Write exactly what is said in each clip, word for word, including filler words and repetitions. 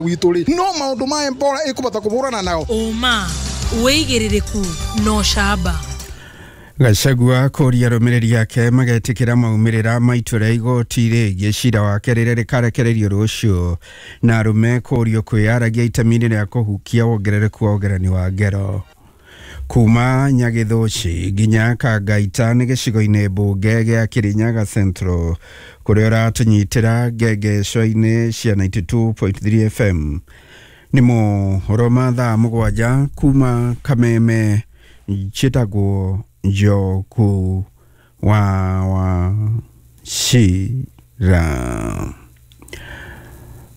Witũ rĩ, no maũndũ ma Ebola ĩkũbota kũhũrana nao. Ũma, wĩigĩrĩrĩku na ũcamba. Gachagua kũria arũmĩrĩri ake magetĩkĩra maumĩrĩra ma itua rĩa igoti rĩgiĩ cira wake rĩrĩa rĩkarekererio rũciũ, na arũme kũrio kwĩyaragia itemi-inĩ rĩa kũhukia wongerereku wa ũgerani wa ngero. Kuma Nyagĩthũci nginya Kangaita nĩ gĩcigo-inĩ mbunge gĩa Kirinyaga Central, kũrĩa ũratũnyitĩra ngengeco-inĩ cia ninety-two point three F M. Nĩ mohoro ma thaa mũgwanja kuma Kameme, njĩtagwo Njoku wa Wachira.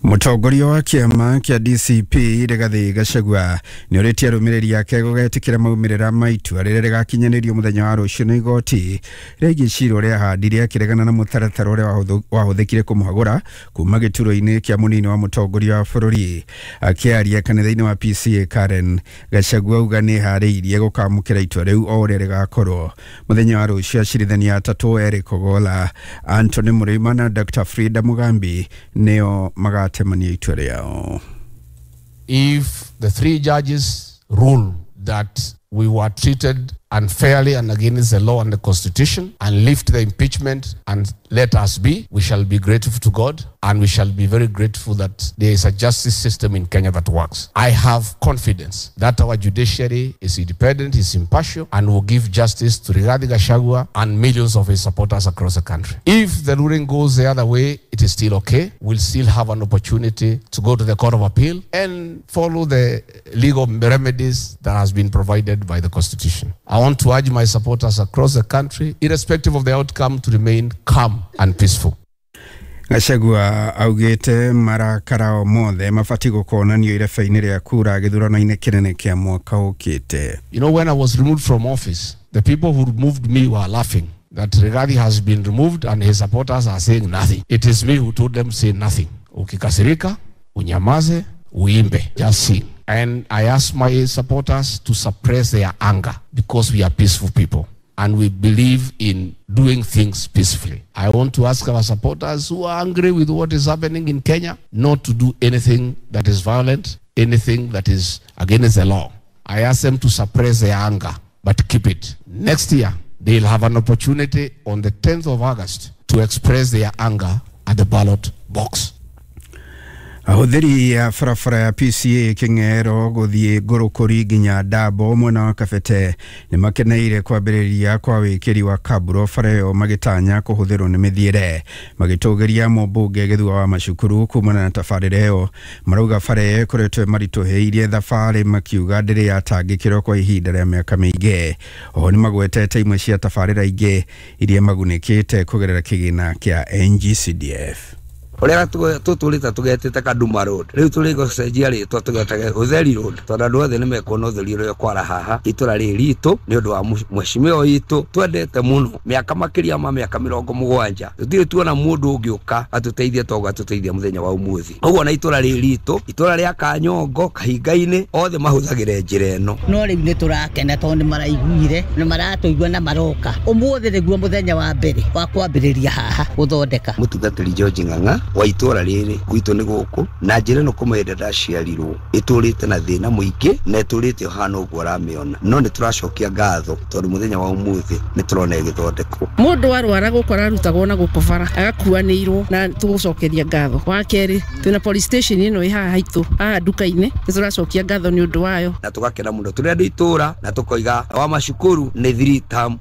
Mũtongoria wa kĩama kĩa D C P Rigathĩ Gachagua nĩ orĩtie arũmĩrĩri ake gũgetĩkĩra maumĩrĩra ma itua rĩrĩa rĩgakinyanĩrio mũthenya wa rũciũ nĩ igoti rĩgiĩ cira ũrĩa ahandire akĩregana na mũtaratara ũrĩa wahũthĩkire kũmũhagũra kuma gĩturwa-inĩ kĩa mũnini wa mũtongoria wa bũrũri. Akĩaria kanitha-inĩ wa P C A Karen, Gachagua auga nĩ eharĩirie gũkamũkĩra itua rĩu o ũrĩa rĩgakorwo. Mũthenya wa rũciũ acirithania atatũ Eric Ogolla, Anthony Mrima na Doctor Frida Mugambi nĩo magatemania itua rĩao. If the three judges rule that we were treated unfairly and against the law and the constitution and lift the impeachment and let us be, we shall be grateful to God and we shall be very grateful that there is a justice system in Kenya that works. I have confidence that our judiciary is independent, is impartial, and will give justice to Rigathi Gachagua and millions of his supporters across the country. If the ruling goes the other way, it is still okay. We'll still have an opportunity to go to the Court of Appeal and follow the legal remedies that has been provided by the Constitution. I want to urge my supporters across the country, irrespective of the outcome, to remain calm and peaceful. Gachagua augĩte marakara o mothe mabatiĩ gũkonanio irebe-inĩ rĩa kura gĩthurano-inĩ kĩnene kĩa mwaka ũkĩte. You know, when I was removed from office, the people who removed me were laughing that Rigathi has been removed and his supporters are saying nothing. It is me who told them say nothing. Ukikasirika, unyamaze, uimbe, just sing. And I asked my supporters to suppress their anger because we are peaceful people and we believe in doing things peacefully. I want to ask our supporters who are angry with what is happening in Kenya not to do anything that is violent, anything that is against the law. I ask them to suppress their anger, but keep it. Next year, they'll have an opportunity on the tenth of August to express their anger at the ballot box. Ahũthĩri a barabara ya P C A Kĩng'ero gũthiĩ Ngũrũkũri nginya Ndambo mwena wa Kabete nĩ makeneire kwambĩrĩria kwa wĩkĩri wa kaburo bara ĩyo magĩtanya kũhũthĩrwo nĩ mĩthiĩre. Magĩtũgĩria mũmbunge Gĩthua wa Macukuru kumana na tabarĩra ĩyo, marauga bara ĩyo ĩkoretwo ĩmaritũhĩirie thabarĩ, makiuga ndĩrĩ yatangĩkĩrwo kwa ihinda rĩa mĩaka mĩingĩ. Oho nĩ magwetete imwe cia tabarĩra ingĩ iria magunĩkĩte kũgerera kĩgĩna kĩa N G C D F. Ũrĩa tũtũrĩte tũgetĩte Kaduma Road, rĩu tũrĩ gũcenjia rĩtwa tũgetage Ũtheri Road, tondũ andũ othe nĩmekuona ũtheri ũrĩa kwara haha itũra rĩrĩ ritũ nĩ ũndũ wa mheshimiwa witũ twendete mũno mĩaka makĩria ma mĩaka mĩrongo mũgwanja. Tũtirĩ tuona mũndũ ũngĩũka atũteithie toguo atũteithia mũthenya wa ũmũthĩ. Ũguo na itũra rĩrĩ ritũ, itũra rĩa Kanyongo, Kahinga-inĩ, othe mahũthagĩra njĩra ĩno. No rĩu nĩ tũrakena tondũ nĩ maraiguire, nĩ maratũigua na maroka. Ũmũthĩ nĩguo mũthenya wa mbere wa kwambĩrĩria haha gũthondeka. Mũtungatĩri George Ng'ang'a wa itũra rĩrĩ gwitũ nĩ gũkũ na njĩra ĩno kuma hĩndĩ ndaciarirwo ĩtũrĩte na thĩna mũingĩ na ĩtũrĩte ũhana ũguo ũramĩona, no nĩ tũracokia ngatho tondũ mũthenya wa ũmũthĩ nĩ tũrona ĩgĩthondekwo. Mũndũ arwara gũkũ ararutagwo na gũkũ bara agakuanĩirwo na tũgũcokeria ngatho. Wa kerĩ twĩna police station ĩno ĩ haha haitũ haha nduka-inĩ, nĩ tũracokia ngatho nĩ ũndũ wayo na tũgakena mũno tũrĩ andũ itũra na tũkoiga wa macukuru nĩ three term.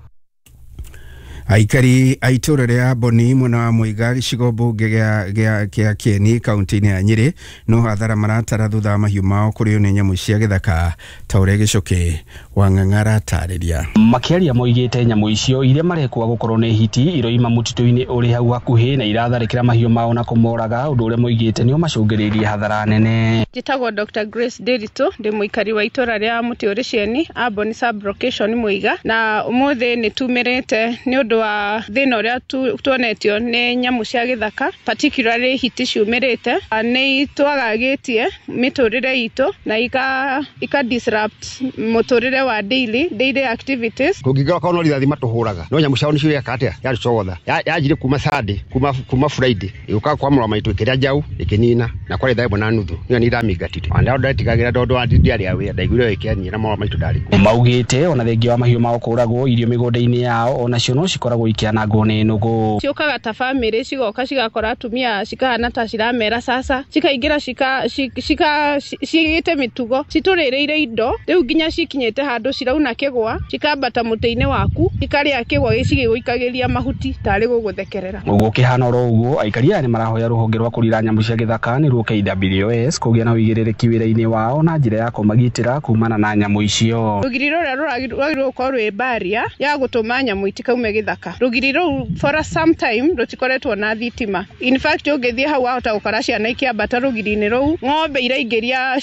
Aikari a itũra rĩa Boni mwena wa Mũiga gĩcigo mbunge gĩa gĩa Kĩeni kaunti-inĩ ya Nyĩrĩ no hathara maratara thutha wa mahiũ mao kũrĩo nĩ nyamũ cia gĩthaka ta ũrĩa Gĩcũkĩ wa Ng'ang'a aratarĩria. Makĩaria moigĩte nyamũ icio iria marekwa gũkorwo nĩ hiti iroima mũtitũ-inĩ ũrĩ hau hakuhĩ na iratharĩkĩra mahiũ mao na kũmoraga, ũndũ ũrĩa moigĩte nĩo macũngĩrĩirie hathara nene. Njĩtagwo Doctor Grace Ndiritu, ndĩ mũikari wa itũra rĩa Mũtĩ ũrĩ Cieni, Amboni sub-location Mũiga, na ũmũthĩ nĩ tumĩrĩte nĩ ũndũ ũndũ wa thĩna ũrĩa tuonetio nĩ nyamũ cia gĩthaka, particularly hiti ciumĩrĩte. Nĩ twagagĩtie mĩtũrĩre itũ na ika ika disrupt mũtũrĩre wa daily daily activities. Kũngĩkorwo korwo no rithathi matũhũraga no nyamũ ciao nĩcio yeka atĩa yarũcogotha yanjire kuma Sunday kuma kuma Friday ĩgũka kwa mũrwa maitũ ĩkĩrĩa njaũ ĩkĩnina na kwarĩ thaa ĩmwe na nuthu niyo nĩ iramĩingatire ona ndetigagĩra tondũ ndiarĩ a wĩra ndaiguire ĩkĩania na mũrwa maitũ ndarĩ kuo. Maugĩte ona thengia wa mahiũ mao kũragwo irio mĩgũnda-inĩ yao onacio no cikoragwo ikĩanangwo nĩ nũgũ. Ciũkaga ta famĩlĩ cigoka cigakora atumia cikahana ta ciramera sasa cikaingĩra cika cika cigĩte mĩtugo citũrĩrĩire indo rĩu nginya cikinyĩte handũ cirauna kĩgwa cikambata mũtĩ-inĩ waku cikarĩa kĩgwa gĩcigĩgũikagĩria mahuti tarĩ gũgũthekerera. Gũkĩhana oro ũguo aikari aya nĩ marahoya rũhonge rwa kũrira nyamũ cia gĩthaka nĩruo K W S kũgĩa na ũigĩrĩrĩki wĩra-inĩ wao na njĩra ya kũmagitĩra kumana na nyamũ icio. Rũgiri rũrĩa rũragĩrĩirwo gũkorwo rwĩ barrier ya gũtũma nyamũ itikaume gĩthaka. Rũgiri rũu for some time rũtikoretwo na thitima. In fact ũngĩthiĩ hau wahota gũkora ciana ikĩambata rũgiri-inĩ rũu, ng'ombe iraingĩria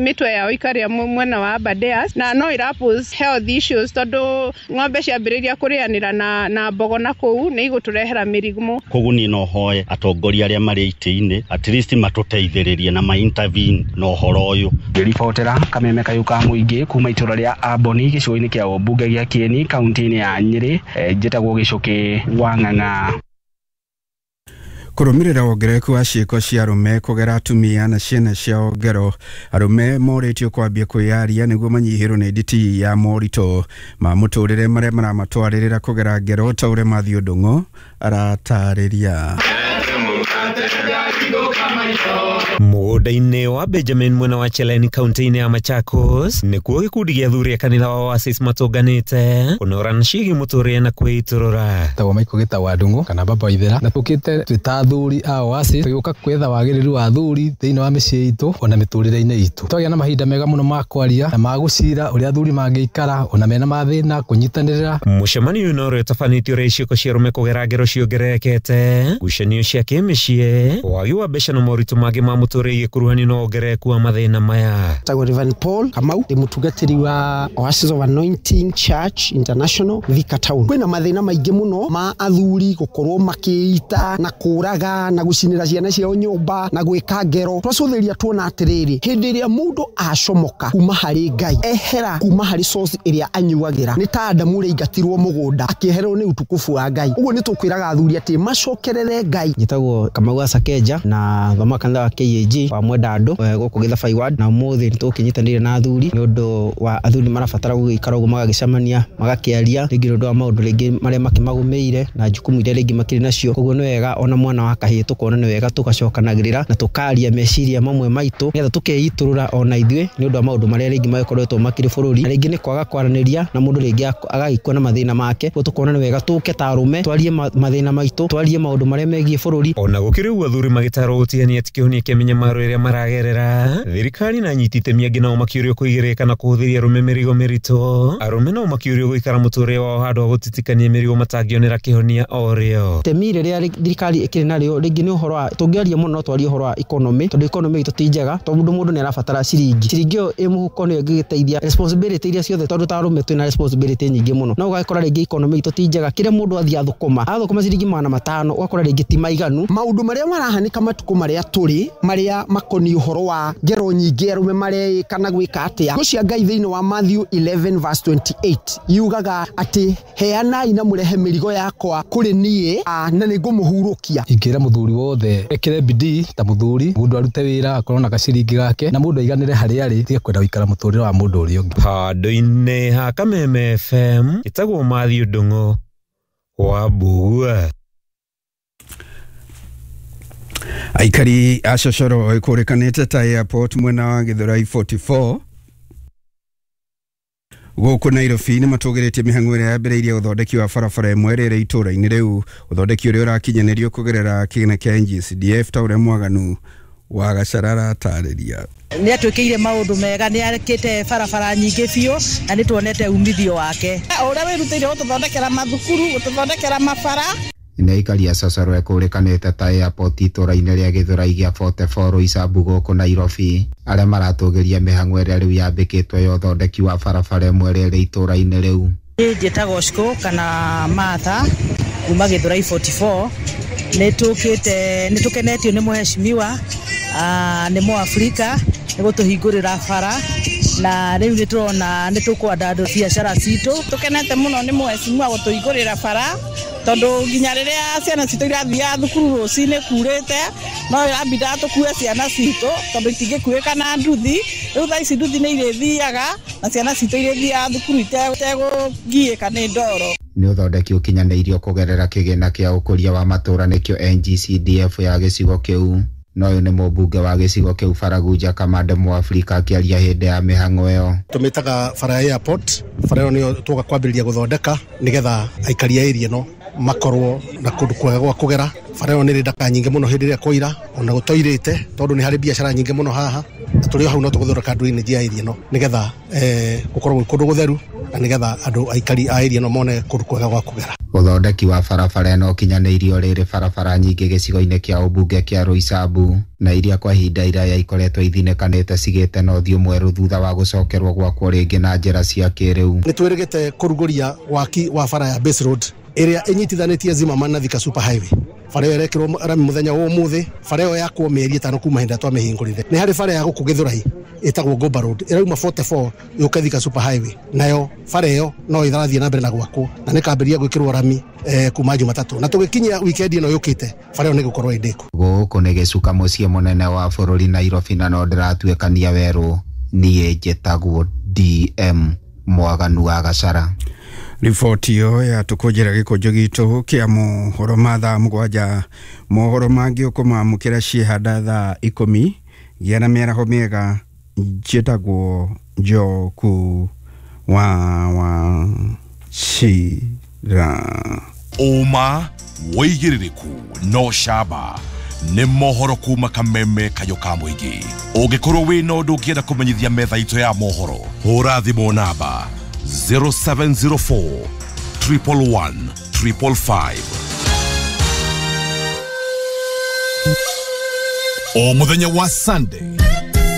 mĩtwe yao ikarĩa mwena wa Aberdares na no ira pose health issues tondũ ng'ombe ciambĩrĩria kũrĩanĩra na na mbogo na kũu nĩ igũtũrehera mĩrimũ. Koguo niĩ no hoe atongoria arĩa marĩ itĩ-inĩ at least matũteithĩrĩrie na ma intervene na ũhoro ũyũ. Ngĩribotera Kameme Kayũ ka Mũingĩ kuma itũra rĩa Amboni gĩcigo-inĩ kĩa ũmbunge gĩa Kieni kaunti-inĩ ya Nyĩrĩ, njĩtagwo Gĩcũkĩ wa Ng'ang'a. Kũrũmĩrĩra wongerereku wa ciĩko cia arũme kũgera atumia na ciana ciao ngero, arũme morĩtio kwambia kwĩyaria nĩguo manyihĩrwo nĩ nditi ya moritũ ma mũtũrĩre marĩa maramatwarĩrĩra kũgera ngero ta ũrĩa Matthew Ndung'u aratarĩria. Mũgũnda-inĩ wa Benjamin mwena wa Cheleni kaunti-inĩ ya Machakos nĩkuo gĩkundi gĩa athuri a kanitha wa Oasis matũnganĩte kũnorana ciĩgiĩ mũtũrĩre na kwĩitũrũra. Tagwo Michael Gĩtawa Ndung'u kana Baba Ithera na tũkĩte twĩ ta athuri a Oasis tũgĩũka kwetha wagĩrĩru wa athuri thĩinĩ wa mĩciĩ itũ ona mĩtũrĩre-inĩ itũ. Twagĩa na mahinda mega mũno ma kwaria na ma gũcira ũrĩa athuri mangĩikara ona mena mathĩna kũnyitanĩrĩra. Mũcemanio ũyũ no ũrĩa ũtabanĩtio ũrĩa ciĩko cia arũme kũgera ngero ciongererekete, ngucanio cia kĩmĩciĩ, wagi wa mbeca na moritũ mangĩ ma mũtũrĩre igĩkuruhanio na wongerereku wa mathĩna maya. Tagwo Reverend Paul Kamau ndi mũtungatĩri wa Oasis of Anointing Church International Thika Town. Kwĩna mathĩna maingĩ mũno ma athuri gũkorwo makĩita na kũraga na gũcinĩra ciana ciao nyũmba na gwĩka ngero. Twacũthĩria tuona atĩrĩrĩ, hĩndĩ ĩrĩa mũndũ acomoka kuma harĩ Ngai, ehera kuma harĩ source ĩrĩa anyuagĩra, nĩ ta Adamu ũrĩa aingatirwo mũgũnda akĩehererwo nĩ utukufu wa Ngai. Ũguo nĩ tũkwĩraga athuri atĩ macokerere Ngai. Njĩtagwo Kamau wa Sakeja na thoma kanitha wa K A G wa Mwendandũ gũkũ Gĩthabai ward, na ũmũthĩ nĩ tũkĩnyitanĩire na athuri nĩ ũndũ wa athuri marabatara gũgĩikara ũguo magagĩcemania magakĩaria rĩngĩ nĩ ũndũ wa maũndũ rĩngĩ marĩa makĩmagũmĩire na jukumu iria rĩngĩ makĩrĩ nacio. Koguo nĩ wega ona mwana wa kahĩĩ tũkona nĩ wega tũgacokanagĩrĩra na tũkaria meciria mamwe maitũ nĩgetha tũkeitũrũra ona ithuĩ nĩ ũndũ wa maũndũ marĩa rĩngĩ magĩkoretwo makĩrĩ bũrũri, na rĩngĩ nĩ kwaga kwaranĩria na mũndũ rĩngĩ agagĩkua na mathĩna make. Koguo tũkona nĩ wega tũke ta arũme twarie mathĩna maitũ, twarie maũndũ marĩa megiĩ bũrũri. Ona gũkĩrĩ ũguo athuri magĩtarwo gũtigania ti kĩhonia kĩa mĩnyamaro ĩrĩa maragerera, thirikari na anyiti itemi angĩ nao makĩũrio kũigĩrĩka na kũhũthĩria arũme mĩrigo mĩritũ. Arũme nao makĩũrio gũikara mũtũrĩre wao handũ ha gũtitikania mĩrigo matangĩonera kĩhonia o rĩo. Itemi rĩrĩa thirikari ĩkĩrĩ narĩo rĩngĩ nĩ ũhoro wa tũngĩaria mũno no twarie ũhoro wa economy, tondũ economy itũ ti njega, tondũ mũndũ nĩ arabatara ciringi, ciringi ĩyo ĩ mũhuko nĩyo ĩngĩgĩteithia responsibility iria ciothe, tondũ ta arũme twĩna responsibility nyingĩ mũno, no ũgakora rĩngĩ economy itũ ti njega, kĩrĩa mũndũ athiĩ athũkũma athũkũma ciringi magana matano ũgakora rĩngĩ ti maiganu. Maũndũ marĩa marahanĩka matukũ marĩa tũrĩ marĩa makoniĩ ũhoro wa ngero nyingĩ arũme mareĩka na gwĩka atĩa, ngo cia Ngai thĩinĩ wa Matthew eleven verse twenty-eight yugaga atĩ heanai na mũrehe mĩrigo yakwa kũrĩ niĩ na nĩngũmũhurũkia. Ingĩra mũthuri wothe ekĩre bidii ta mũthuri, mũndũ arute wĩra akorwo na gaciringi gake na mũndũ aiganĩre harĩa arĩ, tige kwenda gũikara mũtũrĩre wa mũndũ ũrĩa ũngĩ. Handũ-inĩ ha Kameme F M ĩtagwo Matthew Ndung'u wa Mbugua. Aikari a cocoro ĩkũrĩkanĩte ta airport mwena wa Gĩthũrai forty-four gũkũ Nairobi nĩ matũgĩrĩtie mĩhang'o ĩrĩa yambĩrĩirie ũthondeki wa barabara ĩmwe ĩrĩa ĩrĩ itũũra-inĩ rĩu. Ũthondeki ũrĩa ũrakinyanĩrio kũgerera kĩgĩna kĩa N G C D F ta ũrĩa Mwaganu wa Gacara aratarĩria. Nĩ atwĩkĩire maũndũ mega, nĩ akĩte barabara nyingĩ biũ na nĩ tuonete umithio wake. Ũrĩa wĩrutĩire gũtũthondekera mathukuru, gũtũthondekera mabara. Nĩ aikari a cocoro ĩkũrĩkanĩte ta airport itũũra-inĩ rĩa Gĩthũrai gĩa forty-four Roysambu gũkũ Nairobi, arĩa maratũgĩria mĩhang'o ĩrĩa rĩu yambĩkĩtwo ya ũthondeki wa barabara ĩmwe ĩrĩa ĩrĩ itũũra-inĩ rĩu. Njĩtagwo Shiko kana Martha kuma Gĩthũrai forty-four. Nĩ tũkĩte, nĩ tũkenetio nĩ mũheshimiwa, nĩ Mũafrika nĩ gũtũhingũrĩra bara, na rĩu nĩ tũrona nĩ tũkwandandũra biacara citũ. Tũkenete mũno nĩ mũheshimiwa gũtũhingũrĩra bara, tondũ nginya rĩrĩa ciana citũ irathiaga thukuru rũcinĩ kurĩte, no ĩrambindaga tũkue ciana citũ tondũ itingĩkuĩka na nduthi. Rĩu thaa ici nduthi nĩ irĩthiaga na ciana citũ irĩthiaga thukuru itegũgiĩka nĩ ndoro. Nĩ ũthondeki ũkinyanĩirio kũgerera kĩgĩna kĩa ũkũria wa matũũra nĩkĩo N G C D F ya gĩcigo kĩu. Na ũyũ nĩ mũmbunge wa gĩcigo kĩu Baragunja Kamande Mũafrika akĩaria hĩndĩ ya mĩhang'o ĩyo. Tũmĩtaga bara ya airport, bara ĩyo nĩyo tũgoka kwambĩrĩria gũthondeka nĩgetha aikari a area ĩno makorwo na kũndũ kwega gwa kũgera. Bara ĩyo nĩ ĩrĩ ndaka nyingĩ mũno hĩndĩ ĩrĩa kwaira ona gũtoirĩte, tondũ nĩ harĩ biacara nyingĩ mũno haha, na tũrĩ o hau no tũgũthondeka drainage ya area ĩno nĩgetha gũkorwo gwĩ kũndũ gũtheru na nĩgetha andũ aikari a area ĩno mone kũndũ kwega gwa kũgera. Ũthondeki wa barabara ĩno ũkinyanĩirio rĩrĩ barabara nyingĩ gĩcigo-inĩ kĩa ũmbunge kĩa Roysambu na iria kwa ihinda iraya ikoretwo ithinĩkanĩte cigĩte na ũthiũ mwerũ thutha wa gũcokerwo gwakwo rĩngĩ na njĩra cia kĩrĩu. Nĩ twĩrĩgĩte kũrugũria waki wa bara ya Base Road ĩrĩa ĩnyitithanĩtie Zimmerman na Thika Super Highway. Bara ĩyo ĩrekĩrwo rami mũthenya wa ũmũthĩ, bara ĩyo yakwo mĩeri ĩtano kuma hĩndĩ ĩrĩa twamĩhingũrire. Nĩ harĩ bara ya gũkũ Gĩthũrai ĩtagwo Gomba Road ĩrauma forty-four yũke Thika Super Highway, nayo bara ĩyo no ĩrathiĩ na mbere na gwakwo na nĩkambĩrĩria gwĩkĩrwo rami eh, kuma Jumatatũ, na tũgĩkinyia weekend ĩno yũkĩte bara ĩyo nĩgũkorwo ĩndĩku. Gũkũ nĩ gĩcuka mũciĩ mũnene wa bũrũri Nairobi, na no ndĩratuĩkania werũ. Niĩ njĩtagwo D M Mwaganu wa Gacara. Riboti ĩyo yatũkũnjĩra gĩkũnjo gitũ kĩa mohoro ma thaa mũgwanja. Mohoro mangĩ ũkũmamũkĩra ciĩhanda thaa ikũmi. Gĩa na mĩaraho mĩega. Njĩtagwo Njoku wa wa Chira. Ũma wĩigĩrĩrĩku no camba nĩ mohoro kuma kameme kayo ka mũingĩ. Ũngĩkorwo wĩna ũndũ ũngĩenda kũmenyithia metha itũ ya mohoro, hũra thimũ namba zero seven zero four triple one triple five. O mũthenya wa Sunday